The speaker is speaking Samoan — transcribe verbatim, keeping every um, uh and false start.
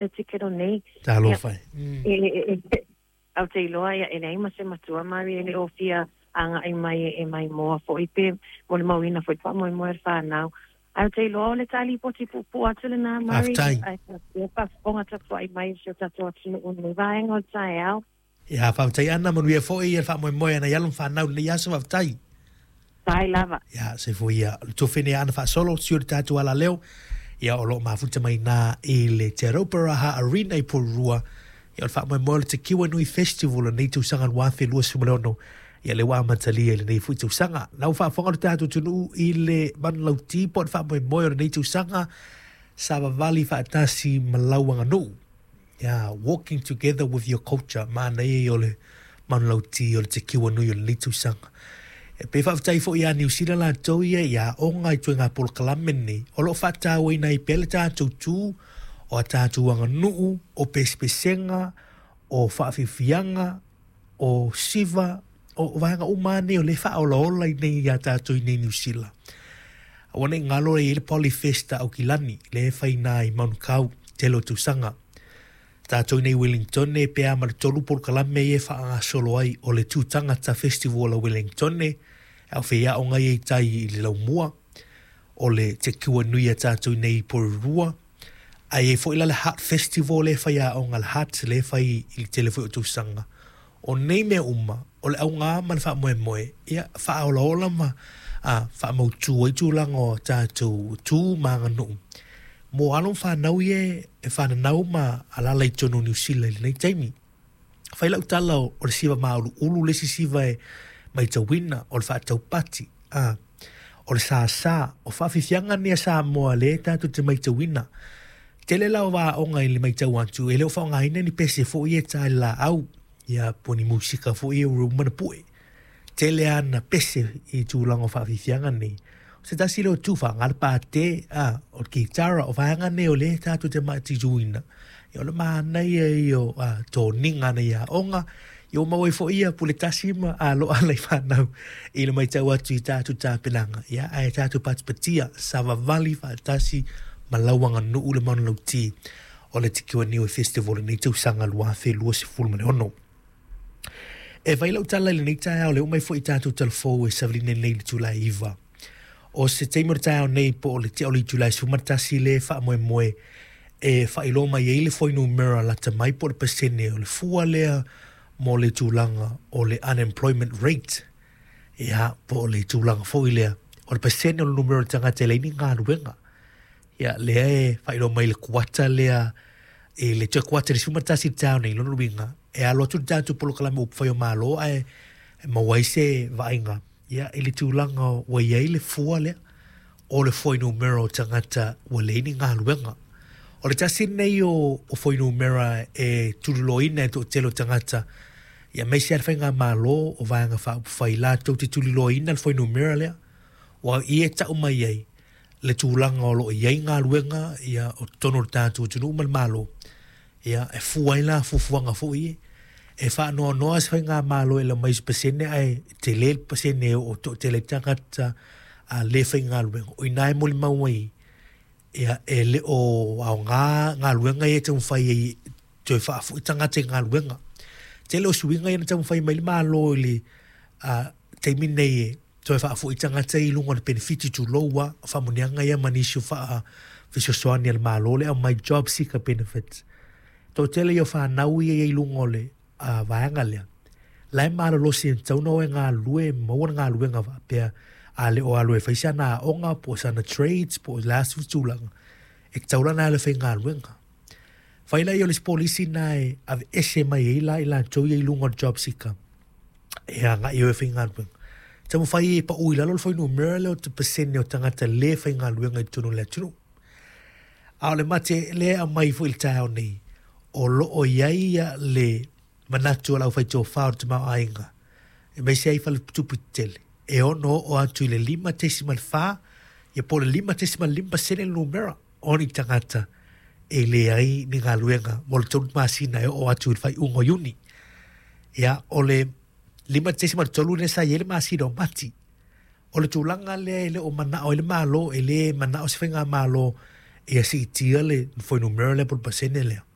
Le tikero nei. Talofa e. Mm. E, e, e, au te iloa ia e leai ma se matua Mari e le o fia agai mai e mai moa foi pe mo le mauina foi faamoemoe le fanau. Ae ou te iloa o le talipoti puupuu atu lenā Mari. Faafetai. Ae faapea faafofoga tapuai mai i si o tatou atunuu i lenei vaega o le taeao. Ia, faafetai Ana, manuia foi le faamoemoe a nai alo ma fanau i lenei aso, faafetai. Sai lava. Ia, soifua ia. O le tofi nei a Ana Faasolo, sui o le tatou alaleo, ia o lo o mafuta mai nā i le Te Rauparaha Arena i Porirua. Ia o le faamoemoe o le Te Nui Festival o lenei tausaga lua afe luasefulu ma le ono, ia le ua amatalia i lenei foi tausaga. Lau faafofoga le tatou atunuu i le manulauti po o le faamoemoe o lenei tausaga, savavali faatasi ma lau aganuu. Ia, walking together with your culture, manaia ia o le manulauti o le Te Nui o lenei tausaga. E pe faafetai foi ia Niu Sila latou ia ia aoga i ituaiga polokalame nei, o lo o faatauaina ai pea le tatou tu o a tatou aganuu, o pesepesega, o faafiafiaga, o siva, o vaega uma nei o le faaolaola i nei ia tatou i nei Niu Sila. Aua ne i galo e i ai le Polyfest a Aukilani, le e faina i Manukau, tele o tausaga. Tatou nei Wellington e pe a ma le tolu polokalame ia e faagasolo ai o le Tūtangata Festival a Wellington, e au feiaoga ia i tai i le laumua, o le Te Kiwa Nui a tatou nei i Porirua, ae i ai foi la le Heart Festival le e fai aoga le Heart le e fai i le tele foi o tausaga. O nei mea uma, o le auga ma le faamoemoe, ia faaolaola ma a, faamautu ai tulaga o tatou tu ma aganuu. Mo alo ma fanau ia e fananau ma alala i totonu o Niu Sila i lenei taimi. Fai lau tala o le siva mauluulu le isi siva e matauina, o le faataupati, a, o le sasa, o faafiafiaga nei a Samoa lea tatou te matauina. Tele la o vaoga i le matau atu, e le o faaaogaina ni pese foi e ta i le laau, ia po o ni musika foi e ua uma ona pue. Tele ana pese i tulaga o faafiafiaga nei. O se tasi lea o tu faaaoga le pate, a, o le kitara, o vaega nei o lea tatou te matituina. Ia o le manaia ia o a, toniga nei aoga, ia ua maua ai foi ia pule tasi ma aloa lai fanau i le matau atu i tatou tapenaga. Ia ae tatou patipatia, savavali faatasi ma lau aganuu le manulauti o le Te Niue Festival i lenei tausaga lua afe luasefulu ma le ono. E fai lau tala i lenei taeao le oo mai foi i tatou talafou e savalina nei i le itula e iva. O se taimi o le taeao nei po o le tea o le itula e sefulu ma le tasi le faamoemoe e faailoa mai ai le fuainumera lata mai po o le pasene o le fua lea mo le tulaga o le unemployment rate. Ia, po o le tulaga foi lea o le pasene o le numera o le tagata e leai ni galuega. Ia, lea e faailoa mai le kuata lea i le toe kuata i le sefulu ma le tasi i le taeao nei, lona uiga, e alo atu le tatou polokalame upufai o Malo ae maua ai se vaaiga ia i le tulaga ua i ai le fua lea o le fuainumera o tagata ua leai ni galuega. O le tasi lenei o, o fuainumera e tuliloaina e toatele o tagata, ia aemaise lava le faigamalo o vaega faaupufai latou te tuliloaina le fuainumera lea, ua i e tau mai ai le tulaga o lo o i ai galuega ia o totonu o le tatou atunuu ma le Malo. Ia e fua ai la fuafuaga foi e e faanoanoa se faigamalo e lau mai se pasene ae tele le pasene o toatele ai tagata a le faigaluega. O i ina e molimau ai ia e le o aoga galuega ia e taumafai ai toe faafoi tagata i galuega. Tele o suiga ia na taumafai mai le Malo i le a, taimi nei e toe faafoi tagata i luga o le penefiti tulou a, o faamanuiaga ia ma nisi o faafesoasoani a le Malo le aumai job seeker benefits. Toatele ia o fanau ia i luga o le a, vaega lea. La e malolosi e tatau ona o e galulue e maua le galuega faapea a le o alu e fai sana aoga po o sana trades po o le a se tulaga e tatau la ona alu e faigaluega. Fai lea o le isi polisi na e aveese mai ai la i latou ia i luga o le job seeker e agai o e faigaluega. Taumafai e pau i lalo le fuainumera lea o te pasene o tagata le faigaluega i totonu o le atunuu. A o le mate lea e aumai foi i le taeao nei, o lo o i ai ia le manatu o le aufaitofa o le tamaoaiga, aemaise ai faletupe tetele, e ono oo atu i le lima tesima le fa, ia po o le lima tesima le lima pasene le numera o ni tagata e leai ni galuega mo le tolu masina e oo atu i le faaiuga o Iuni. Ia, o le lima tesima le tolu lea sa i ai le masina o Mati. O le tulaga lea e le o manao ai le Malo, e le manao se faigamalo ia siitia le fuainumera lea po o le pasene lea.